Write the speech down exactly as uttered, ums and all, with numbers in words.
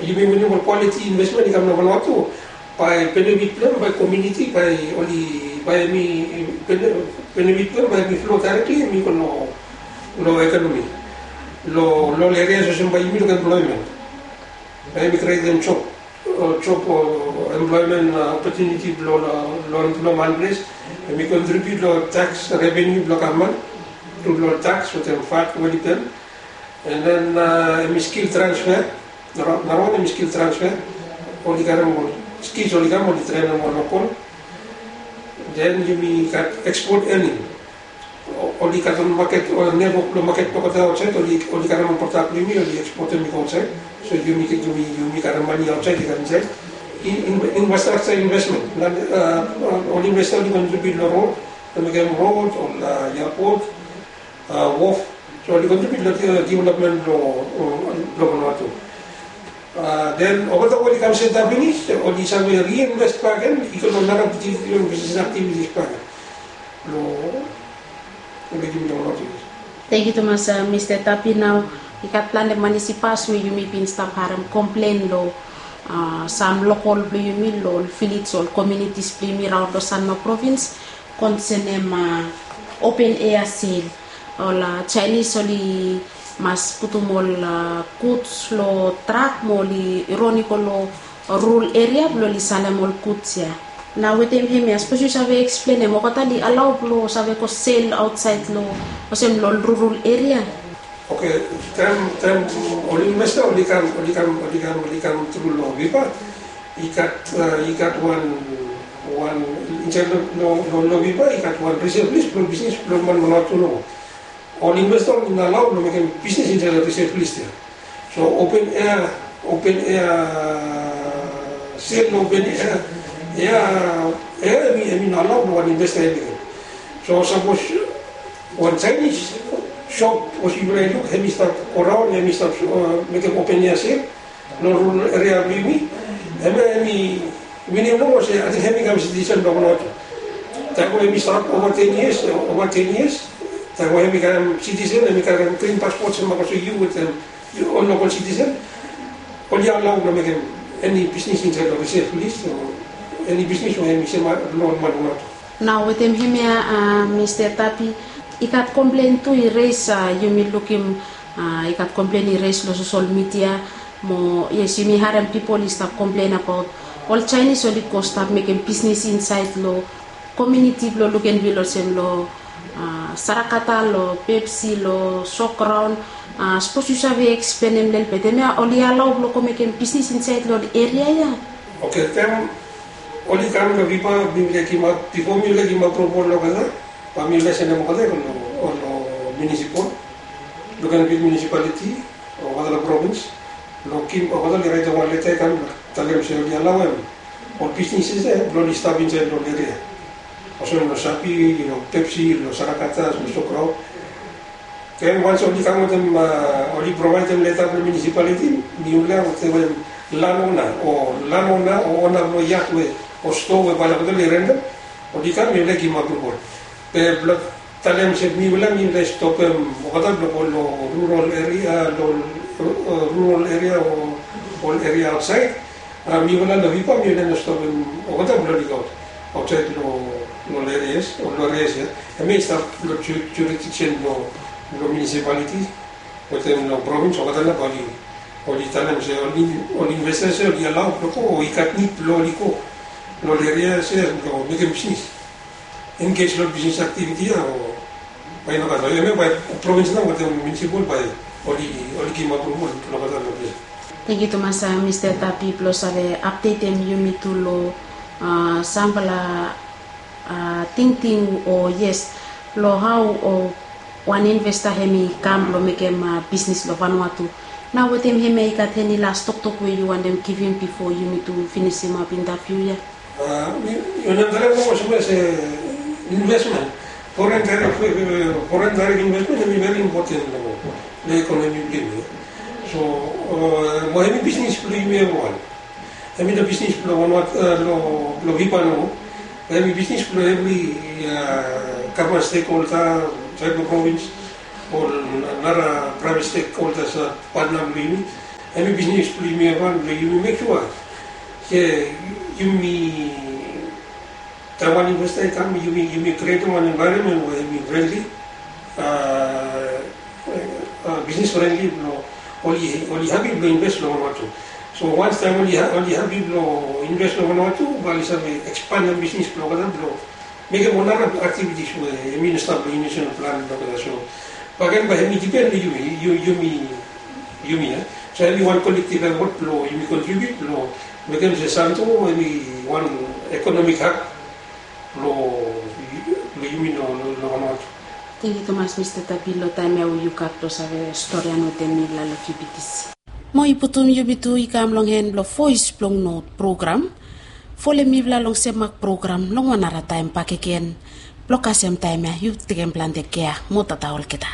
Yumi winim ol quality investment i kam long Vanuatu, bae benefit blong hem, bae komuniti, bae oli, bae hemi benefit blong hem, bae hemi flow directly hemi go long, long economy, long ol areas olsem bae yumi luk employment, bae hemi createm job, job o employment opportunity blong ol, long ol man ples. Hemi contribute long tax revenue blong gavman tru long tax wetem vat we oli pem. And then hemi skill transfer. Narawan hemi skill transfer. Oli karem ol skills oli kam, oli trenem ol lokol. Then yumi gat export earning. Oli gat ol maket, ol network blong maket blong olgeta aotsaed, oli karem ol prodak blong yumi, oli exportem i go aotsaed. So yumi, yumi, yumi karem mane aotsaed i kam insaed. Infrastructure investment, ol investor oli contribute long road, long mekem road, ol airport, wharf. So oli contribute long development blong, blong Vanuatu. Then olgeta we oli kam setap finis, oli save reinvest bakegen i go long nara development business activities bakegen. Long, long mekem long Vanuatu. Tangkiu tumas, Mista Tapi. Nao i gat plante manis i pas we yumi bin stap harem komplen long sam lokol blong yumi long ol vilej, ol komunitis blong yumi raon long Sanma provins, konsenem open air sel. Ol Chinese oli mas putum ol guds long trak mo oli ron i go long rural eria blong oli salem ol guds ya. Nao wetem hemia, sapos yu save eksplenem, olgeta oli alao blong save go sel aotsaed long, olsem long ol rural eria? Oke, taem, taem ol investor oli kam, oli kam, oli kam, oli kam tru long Viva, i gat, i gat wan, wan insaed long, long, long Viva i gat wan reserve list blong bisnis blong man Vanuatu nomo. Ol investor oli no alao blong mekem bisnis insaed long reserve list ya. So open air, open air sel, open air, ya, ya hemi, hemi no alao blong wan investor hemi mekem. So sapos wan Chinese shop, sapos yufala i luk, hemi stap go raon, hemi stap mekem open air sel long rural eria blong yumi, hemia hemi winim nomo olsem ating hemi kam sitisen blong Vanuatu. Taem we hemi stap ova ten yias, ova ten yias, taem we hemi kam sitisen, hemi karem grin paspot, hemi go soem yu wetem ol lokol sitisen, oli alao blong mekem eni bisnis insaed long reserve list o eni bisnis we hemi sem long ol man Vanuatu. Nao wetem hemia, Mista Tapi, i gat komplen tu i res, yumi lukim i gat komplen i res long sosel midia. Mo yes, yumi harem pipol i stap komplen abaot ol Chinese oli go stap mekem bisnis insaed long komuniti blong Luganville, olsem long Sarakata, long Pepsi, long Sograon. Sapos yu save eksplenem lelebet, hemia oli alao blong go mekem bisnis insaed long ol eria ya? Oke, taem oli kam long Viva, mifala i givim, bifo mifala i givim apruval long olgeta, bae mifala i sendem olgeta i go long, long munisipal, Luganville municipality, olgeta long provins, long kim, olgeta oli raetem wan leta i kam talem se oli alaoem ol bisnis ya blong oli stap insaed long ol eria, olsem long Sapi, long Pepsi, long Sarakata, long Sograon. Then once oli kam wetem, oli provaedem leta blong munisipaliti, mifala wetem landowner o, landowner o ona blong yat we, o stoa we bae olgeta oli rentem, oli kam, mifala i givim apruval. Be blong talem se mifala, mifala i stopem olgeta blong go long rural eria, long rural eria o ol eria aotsaed. Mifala long Viva, mifala i no stopem olgeta blong oli go aotsaed long ol erias, long erias ya. Hemia i stap long jurisdiction blong munisipaliti wetem long provins, olgeta nao bae oli talem se ol investor se oli alao blong go, o i gat nid blong oli go long ol erias ya blong mekem bisnis, engage long bisnis aktiviti ya, o bae i no gat. Hemia bae provins nao wetem munisipal bae oli, oli givim apruval long olgeta long ples. Tangkiu tumas, Mista Tapi, blong save apdetem yumi tu long samfala tingting, o yes, long hao wan investor hemi kam blong mekem bisnis long Vanuatu. Nao wetem hemia, i gat eni las toktok we yu wantem givim bifo yumi tu finisimap intaviu ya? Yu wantem talem olsem se investment, foreign direct, foreign direct investment hemi veri impoten long ekonomi blong yumi. So mo hemi bisnis blong yumi evriwan. Hemi no bisnis blong Vanuatu, long Viva nomo. Hemi bisnis blong evri gavman stekholda, saed blong provins, ol nara praevet stekholdas, patna blong yumi. Hemi bisnis blong yumi evriwan blong yumi mek sua se yumi taem wan investor i kam, yumi yumi krietem wan envaeronmen we hemi frendli, bisnis frendli blong oli hapi blong inves long Vanuatu. So wans taem oli hapi blong inves long Vanuatu, bae oli save ekspanem bisnis blong olgeta blong mekem ol nara aktivitis we hemi no stap long inisial plan blong olgeta. So baken bae hemi dipen long yumi, yumi, yumi ya. So hemi wan kolektiv efot blong yumi kontribiut blong mekem se Santo hemi wan ekonomik hab blong yumi long Vanuatu. Tangkiu tumas Mista Tapi long taem ya we yu gat blong save storian wetem mifala long Q B T C. Mo i putum yumi tu i kam long hen blong Voes blong Not program. Folem mifala long Semak program long wan nara taem bakegen. Blong kasem taem ya yu tekem plante kea mo tata olgeta.